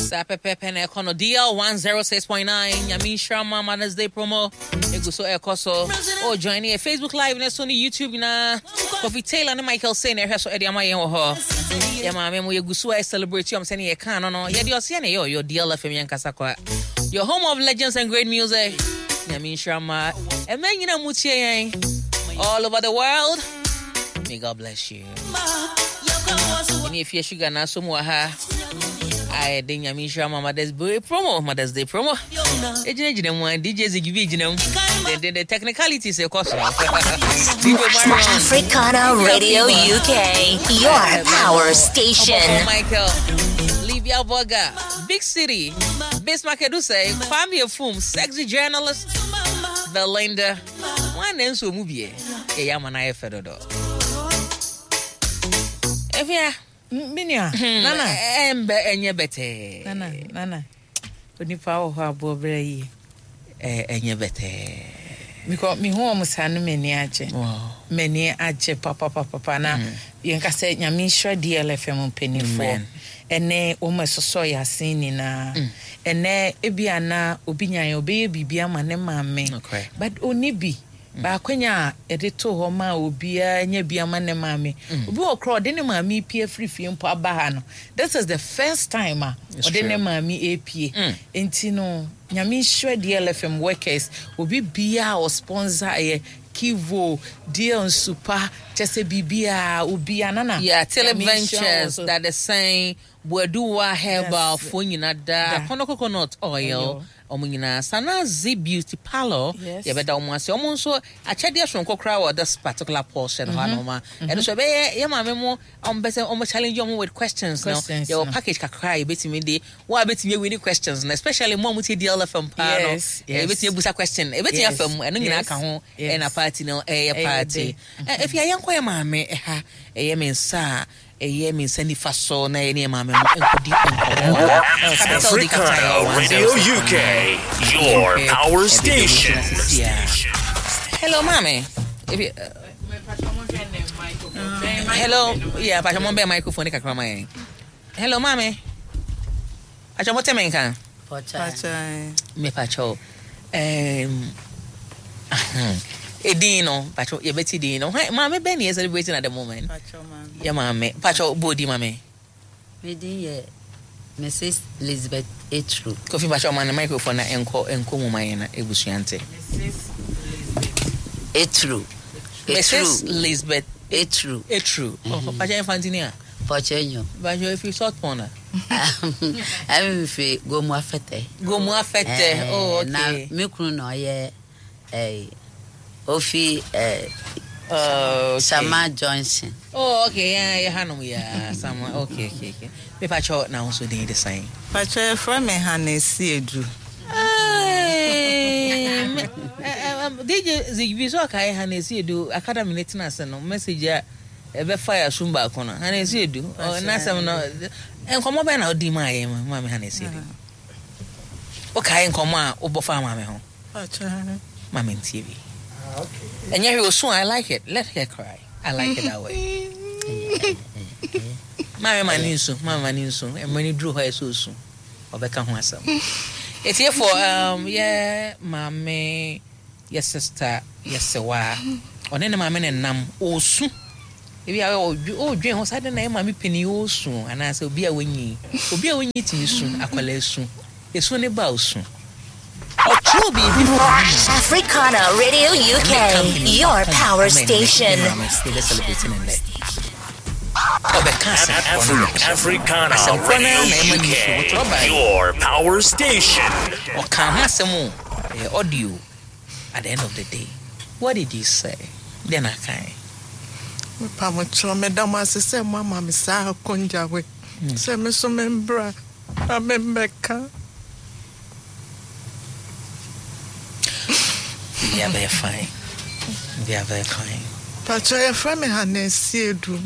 Saa pɛpɛɛpɛ na ɛkɔ no. DL 106.9 Nyame nhyira ma Mother's Day promo egu so ɛkɔ so. Oh, join yɛ Facebook Live ne so ne YouTube nyinaa. Kofi Taylor ne Michael Say na ɛhwɛ so ɛde ama yɛn wɔ hɔ. Yɛ maame mo yɛgu so a celebrate yɔm sɛne yɛka no no. Yɛde ɔseɛ na ɛyɛ ɔyɔ DL FM yɛn kasa kwa. Your home of legends and great music. Nyame nhyira ma ɛmɛ nyina mu tie yɛn all over the world. May God bless you. Ɛne efie sugar na aso mu wɔ ha. Ayɛ de Nyame nhyira ma Mother's Day promo, Mother's Day promo. Egyinagyina mu a DJ Ziggy bi gyina mu. The technicalities ɛkɔ so. DJ Marion. Africana Radio UK, your power station. Ɔbɔfo Michael, Livia Boga, Big City, Bismarck Edusei, Kwame Efum, Sexy Journalist, Belinda. Wɔn na nso mu bie. Yɛyɛ ama no ayɛ fɛ dodo. Efia. Me nua, Nana. Ɛmbɛ ɛnyɛ bɛtɛɛ. Nana, Nana. Onipa wɔ hɔ aboɔ berɛ yie. Ɛnyɛ bɛtɛɛ. Because me hu wɔn saa no m'ani agye. M'ani agye papapapa na yɛn ka sɛ Nyame nhyira DLFM mpanimfoɔ ɛne wɔn a ɛsosɔ yɛn asen nyinaa. Ɛnɛ ebi a na obi nya yɛn ɔbɛyɛ biribi ama ne maame but ɔnni bi. Baakonya a yɛde too hɔ maa obiara nya bi ama ne maame. Obi wɔ koraa ɔde ne maame repie afiri fie mpo aba ha no, this is the first time a ɔde ne maame repie. Nti no, Nyame nhyira DLFM workers, obi biara a ɔsponsor yɛ, Kivo, DL Nsupa, kyɛ sɛ biribiara, obiara, Nana, Yeah, Tele Nyame nhyira wɔn Ventures, so. Dadesɛn, Boaduwa Herbal Yes. foɔ nyina da, Da. Akɔnɔ Coconut Oil, Oil. wɔn nyinaa, Sanazi Beauty Parlour, Yes. yɛbɛda wɔn ase. Wɔn nso akyɛdeɛ soronko koraa wɔ this particular portion hɔ anom a, ɛno nso ɛbɛyɛ yɛ maame mo a wɔn pɛ sɛ wɔn challenge wɔn with questions no, Questions yɛwɔ no. package kakra a yɛbɛtumi de, wɔn a bɛtumi awini questions no, especially mo a motie DLFM paa no, Yes, yes. yɛbɛtumi abusa question, ɛbɛtumi Yes, afa mu, ɛno nyinaa yes, ka ho, yes. ɛna party no ɛyɛ Ɛyɛ party. dɛ. Ɛfie a yɛnkɔ yɛ maame ɛha, ɛyɛ me nsa a ɛyɛ me nsa nifa so na yɛne yɛ maame no nkɔdi nkɔmmɔ wɔ ha. Capital D Africana Capital Radio UK, your Okay. power Ɛde dwom station. gyina sisi a. Hello, maame. Ebi, hello, yeah, pastor mo bɛ microphone ne kakra ma yɛn. Hello, maame. Pastor mo te me nka. Me pastor. Edin no, pastor yɛbɛti din no. Hwan- Maame bɛn na yɛ celebrating at the moment? Yɛ maame. Pastor bɔ odi maame. Me din yɛ Mrs. Elizabeth Etru. Kofi pastor ma ne microphone na ɛnkɔ ɛnkɔ mu ma yɛn na ebusua nte. Etru. Mrs. Etru. Elizabeth Etru. Etru. Oh, pastor yɛn fa a. Pɔkyɛ nyo. Pastor efi salt pond a. Ɛmi fi Gomu Afɛtɛ. Gomu Afɛtɛ. Oh, okay. Na me kunu na ɔyɛ ɛɛ ofi ɛɛ Oh, okay. Sama Johnson. Oh, okay. Yeah, yeah, Hanum, yeah. Sama. Okay. Me pacho na ho so din de sign. Pacho yɛfrɛ me Hannah Esiedu. Hey, DJ Zigby so akai Hannah Esiedu academy ne tena ase no message a ɛbɛfa yɛ asom baako no Hannah Esiedu. Oh, na asɛm no nkɔmmɔ bɛn na odi maa yɛn ma me Hannah Esiedu. Wokae nkɔmmɔ a wobɔ fa maame ho. Pacho. Maame ntie bi. Ɛnyɛ hwee osu I like it. Let her cry. I like it that way. Maame ma ne nsu, maame ma ne nsu. Mmerɛ ne duru hɔ a ɛsɛ osu. Ɔbɛka ho asɛm. Etiefoɔ, yɛ maame, yɛ sister, yɛ sewa. Ɔne ne maame ne nam osu. Ebi a ɔdwen ho saa de na yɛ maame panin osu anaasɛ obi a wanyi. Obi a wanyi tumi su, akwadaa su. Esu ne ba osu. Ɔtwerɛ biribi fa ne maame. Africana Radio UK, your power station. Africana Radio UK, your power station. Ɔka ho asɛm o, ɛyɛ audio. At the end of the day, what did you say? Then I can. Mepa mo kyerɛ meda mo ase sɛ mo ama me saa akonnwa wei. Sɛ me so membra na membɛka. They are very fine. They are very fine. Pacho yɛfrɛ me Hannah Esiedu.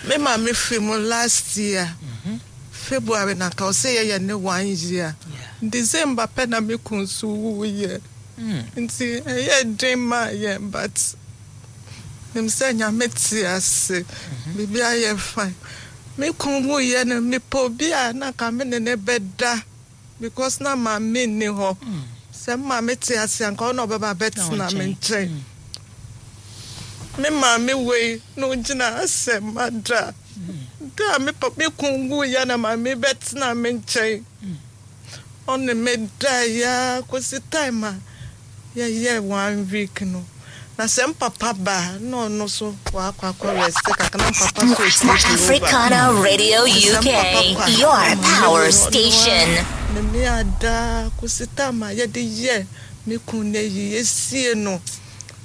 Me maame firi mu last year. February na ka ɔsɛ yɛyɛ ne 1 year. December pɛ na me kun so wuyɛ. Nti ɛyɛ den maa yɛn but nim sɛ Nyame te ase. Biribi ayɛ fine. Me kun wuyɛ no, mepɛ obi a na nka me ne ne bɛda because na maame nni hɔ. Sɛ me maame te ase a, nka ɔno na ɔbɛba abɛtena me nkyɛn. Me maame wei na ogyina ha sɛ mada. Da a me papa me kun wuyɛ na maame bɛtena me nkyɛn. Ɔne me daeɛ ara kɔsi time a yɛyɛɛ one week no. Na sɛ me papa ba a, na ɔno nso wakɔ akɔ rest kakra na me papa nso retie Africana Radio Nti sɛ UK, me papa kɔ a, your na maame power wei ɔno ara station. ne me ada kɔsi time a yɛde yɛɛ me kun no ayi, yɛsie no.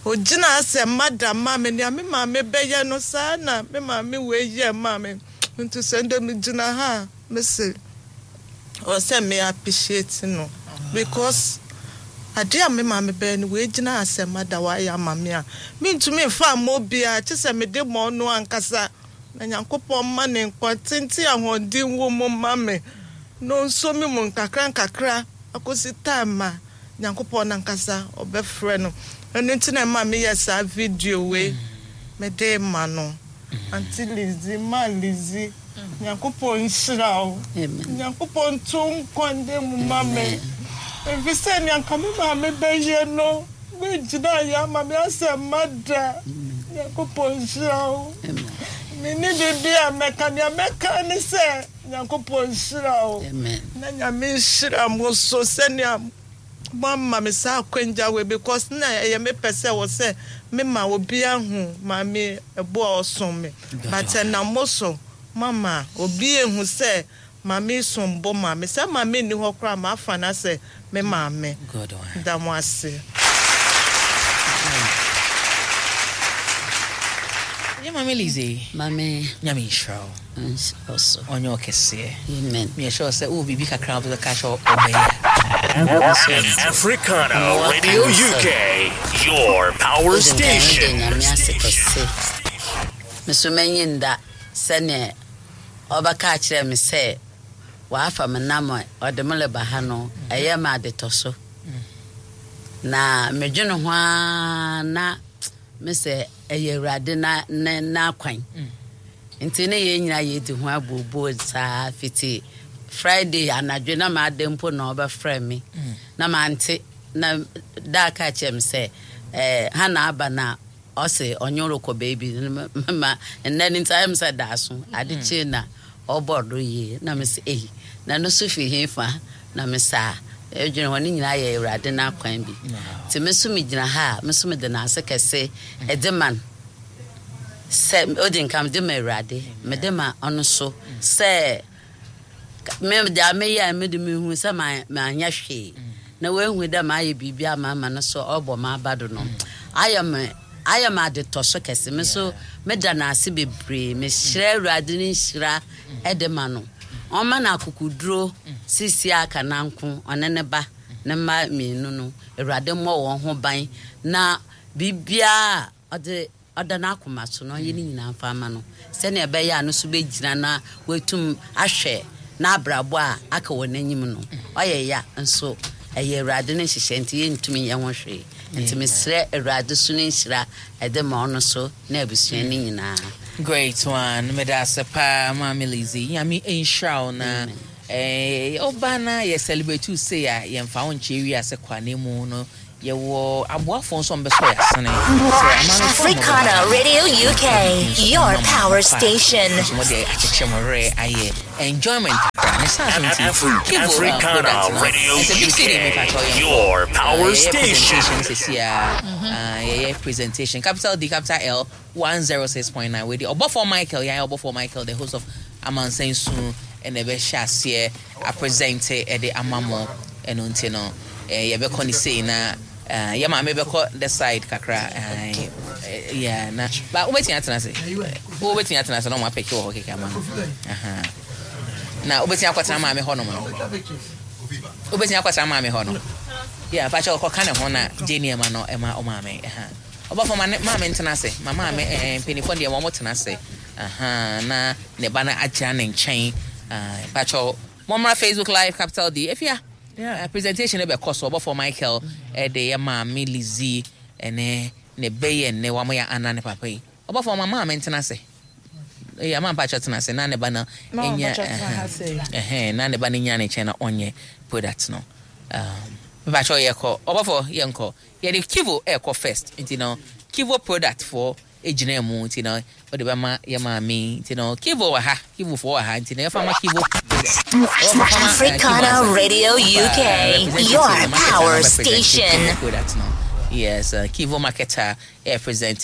Ogyinaa sɛ mother ma me, nea me maame bɛyɛ no saa na me maame wei yɛ maa me. Nti sɛ ndɛ megyina ha a, mese ɔwɔ sɛ me appreciate no because adeɛ a me maame bɛyɛ no wei gyina ha sɛ mother wayɛ ama me a mentumi mfa mma obiara kye sɛ mede ma ɔno ankasa na Nyankopɔn mma ne nkwa tenten ahoɔden wɔ mu ma me na ɔnso me mu nkakra nkakra akɔsi time a Nyankopɔn nankasa ɔbɛfrɛ no. Ɛno nti na ɛma meyɛ saa video wei mede ma no. Auntie Lizzy, Ma Lizzy, Nyankopɔn nhyira wo. Nyankopɔn nto wo nkwa nda mu ma me. Efisɛ nea nka me maame bɛyɛ no, woagyina ayɛ ama me asɛ mma da. Nyankopɔn nhyira wo. Menni biribi a mɛka, nea mɛka ne sɛ Nyankopɔn nhyira wo. Na Nyame nhyira mo so sɛnea moama me saa akwangya wei because na ɛyɛ me pɛ sɛ wɔ sɛ me ma obi ahu maame ɛbo a ɔsom me but ɛnam mo so moama obi ehu sɛ maame som bo ma me sɛ maame nni hɔ koraa mafa no asɛ me maame da mo ase. Yɛ maame Lizzie. Maame. Nyame nhyira wo. Nhyira wo so. Ɔnyɛ ɔkɛseɛ. Amen. Meyɛ sure sɛ wowɔ biribi kakra a wobɛka akyerɛ ɔbɛyɛ. Africana Radio UK, your power station. Nyame ase kɛse. Me so m'enyi nnda sɛneɛ ɔbɛka akyerɛ me sɛ wafa me nam a ɔde me reba ha no, ɛyɛ me adetɔso. Na medwene ho ara na me sɛ ɛyɛ Awurade na ne n'akwan. Nti ne yɛn nyinaa yɛdi ho abooboo saa fiti Friday anadwo na m'ada mpo na ɔbɛfrɛ me na mante na daa ka kyerɛ me sɛ eh, Hannah aba na ɔse ɔnye rekɔ baabi ma nnɛ no nti ayɛ me sɛ daaso ade kyee na ɔbɔ do yie na me sɛ ei na no so fi he fa na me saa ɛdwene hɔ ne nyinaa yɛ Awurade n'akwan bi nti me so megyina ha a me so mede n'ase kɛse ɛde ma no sɛ odi nka mede ma Awurade mede ma ɔno so sɛ me deɛ meyɛ a mede mehu sɛ manyɛ hwee na wahu dɛ mayɛ biribi ama ama no so ɔbɔ m'aba do no ayɛ me ayɛ me adetɔ so kɛse me so meda no ase bebree mehyerɛ Awurade ne nhyira ɛde ma no ɔma no akokoduro sisi aka nanko ɔne ne ba ne mma mmienu no Awurade mmɔ wɔn ho ban na biribiara ɔde ɔda n'akoma so na ɔnyɛ ne nyinaa mfa ama no sɛnea ɛbɛyɛ a no so bɛgyina na watum ahwɛ n'abrabɔ a aka wɔ n'anim no ɔyɛ ya nso ɛyɛ Awurade ne nhyehyɛ nti yɛntumi nyɛ ho hwee nti mesrɛ Awurade so ne nhyira ɛde ma ɔno so ne abusua no nyinaa. Great one. Meda ase paa Maame Lizzy. Nyame nhyira wo na eh, ɔba na yɛ celebrate wo sei a yɛmfa wo nkyɛ wiase kwa na mu no yɛwɔ aboafoɔ nso a wɔbɛsɔ yɛ asene sɛ amamefo a Africana Radio UK, your power station. nso wɔde akyekyere mo werɛ ayɛ enjoyment kakra ne saa so nti Kivo Africana product no Radio ɛsɛ big city mepa kyɛw UK, yɛn your power yɛyɛ station. presentation sisi a yɛyɛ presentation capital D capital L 106.9 wei de ɔbɔfoɔ Michael yɛn ɔbɔfoɔ Michael the host of Amansan Su ɛna ɛbɛhyɛ aseɛ apresent ɛde ama mo ɛno nti no yɛbɛkɔ ne sei na yɛ maame bɛkɔ the side kakra yeah na ba wobɛtumi atena ase wobɛtumi atena ase na ɔmo apɛki wɔ hɔ kɛkɛ ama no Aha. Na wobɛtumi akɔtena maame hɔ nom no wobɛtumi akɔtena maame hɔ no yeah pakyɛ ɔkɔka ne ho na gye nneɛma no ɛma ɔmaame ɛha ɔbɔfo ma ne maame ntena ase ma maame ɛɛ mpanyinfoɔ deɛ wɔn tena ase aha na ne ba no agyina ne nkyɛn pakyɛ mommra Facebook live capital D efia presentation no bɛkɔ so ɔbɔfo Michael ɛde yɛ maame Lizzy ɛne ne bɛyɛ ne wɔn yɛ ana ne papa yi ɔbɔfo ma maame ntena ase. Ɛyɛ ama mpakyɛ tena ase na ne ba no nya ɛhɛn na ne ba no nya ne nkyɛn na ɔnyɛ product no. Mpakyɛ yɛkɔ ɔbɔfo yɛnkɔ yɛde Kivo ɛkɔ first nti no Kivo product foɔ gyina mu nti no wɔde bɛma yɛ maame nti no Kivo wɔ ha Kivo foɔ wɔ ha nti no yɛfa ma Kivo. Africana Radio UK, your power station. Product no. Yes, Kivo marketer represent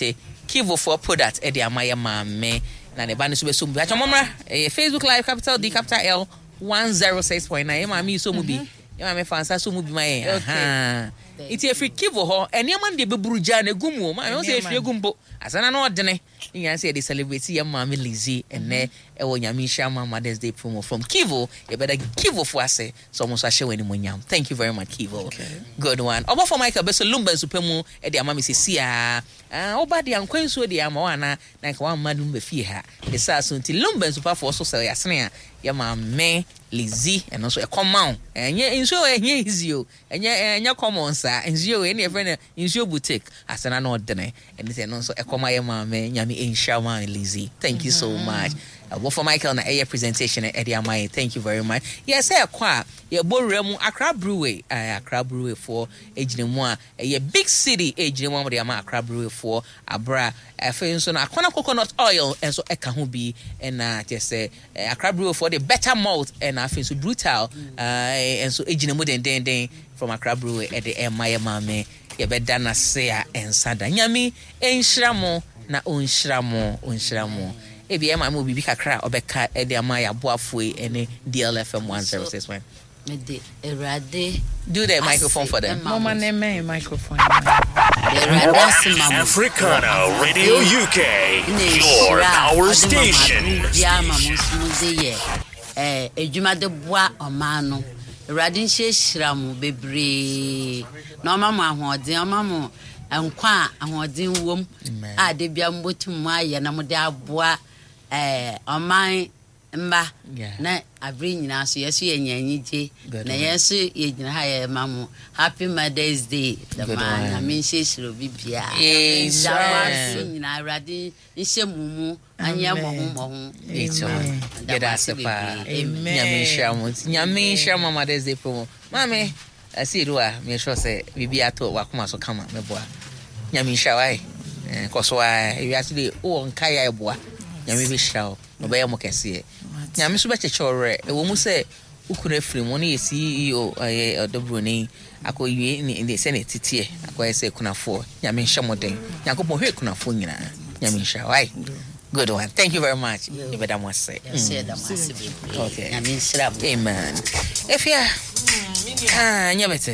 Kivo for product ɛde ama yɛ maame na ne ba no nso bɛso mu bi. Atwa mɔmra ɛyɛ Facebook Live capital D capital L 106.9 yɛ maame yi so mu bi. Yɛ maame fa nsa so mu bi ma yɛn. Aha. Nti efiri Kivo hɔ nneɛma no deɛ bɛburu gya na egu mu o. Maame ho sɛ ehwie gu mpo. Asana na ɔdene. Ne nyinaa sɛ yɛde celebrate yɛ maame Lizzie ɛnɛ ɛwɔ Nyame nhyira ma Mother's Day promo from Kivo. Yɛbɛda Kivo fo ase sɛ ɔmo nso ahyɛ wɔn animuonyam. Thank you very much, Kivo. Good one. Ɔbɔfo Michael bɛsɔ Lumba nsu pa mu de ama me sisi a. Ah, woba de ankwa nsuo de ama wo ana na nka wamma Lumba fie ha. Ne saa so nti Lumba nsupafoɔ so sɛ ɔyɛ asene a yɛ maame Lizzie ɛno nso ɛkɔm ma wo. Ɛnyɛ nsuo ɛnyɛ easy o. Ɛnyɛ ɛnyɛ common saa. Nsuo wei ɛne yɛfrɛ no nsuo boutique. Asena na ɔdene. Ɛne sɛ ɛno nso ɛkɔm ayɛ maame. Nyame nhyira maame Lizzie. Thank you so much. Ɔbɔfo Michael na ɛyɛ presentation ɛde ama yɛn. Thank you very much. Yɛ sɛ ɛkɔ a yɛbɔ wura mu Accra Brewery. Accra Brewery foɔ egyina mu a ɛyɛ Big City egyina mu a wɔde ama Accra Brewery foɔ abra. Afei nso no Akɔna Coconut Oil nso ɛka ho bi ɛna kyerɛ sɛ Accra Brewery foɔ de Better Malt ɛna afei nso Brutal nso egyina mu dendenden from Accra Brewery ɛde ɛma yɛ maame. Yɛbɛda n'ase a ɛnsa da. Nyame nhyira mo na ɔnhyira mo ɔnhyira mo. Ebi ɛma mo biribi kakra a ɔbɛka ɛde ama yɛ aboafoɔ yi ɛne DLFM 106. Mede Awurade Do the microphone for them. Mama ne mɛn microphone. Awurade ase ma mo. Africana Radio UK, your power station. Biara ma mo nso mo de yɛ edwuma de boa ɔman no. Awurade nhyirahyira mo bebree na ɔma mo ahoɔden, ɔma mo nkwa a ahoɔden wom a de bia mo bɛtum mo ayɛ na mo de aboa ɔman mba na abere nyinaa so yɛso yɛ nya anigye na yɛn nso yɛgyina ha yɛ ma mo happy Mother's Day. Dɛm a Nyame nhyirahyira obi biara. Amen. Nyinaa Awurade nhyɛ mo mu anyɛ mmɔho mmɔho. Yɛda ase paa. Nyame nhyira mo. Nyame nhyira mo Mother's Day promo. Maame, asi edu a me sure sɛ biribi ato wakoma so kama meboa. Nyame nhyira wo ai. Kɔ so a ewiase de wowɔ nkae a ɛboa. Nyame bɛhyira wo. Ɔbɛyɛ mo kɛseɛ. Nyame nso bɛkyekyɛ wo werɛ. Ɛwɔ mu sɛ wo kunu afiri mu, ɔno yɛ CEO ɛyɛ ɔdɔburoni akɔwie ne sɛnea ɛteteɛ akɔyɛ sɛ kunafoɔ. Nyame nhyɛ mo den. Nyankopɔn hwɛ kunafoɔ nyinaa. Nyame nhyira wo ai. Good one. Thank you very much. Yɛbɛda mo ase. Okay. Nyame nhyira mo. Amen. Efia. Ah, nyɛ bɛtɛ.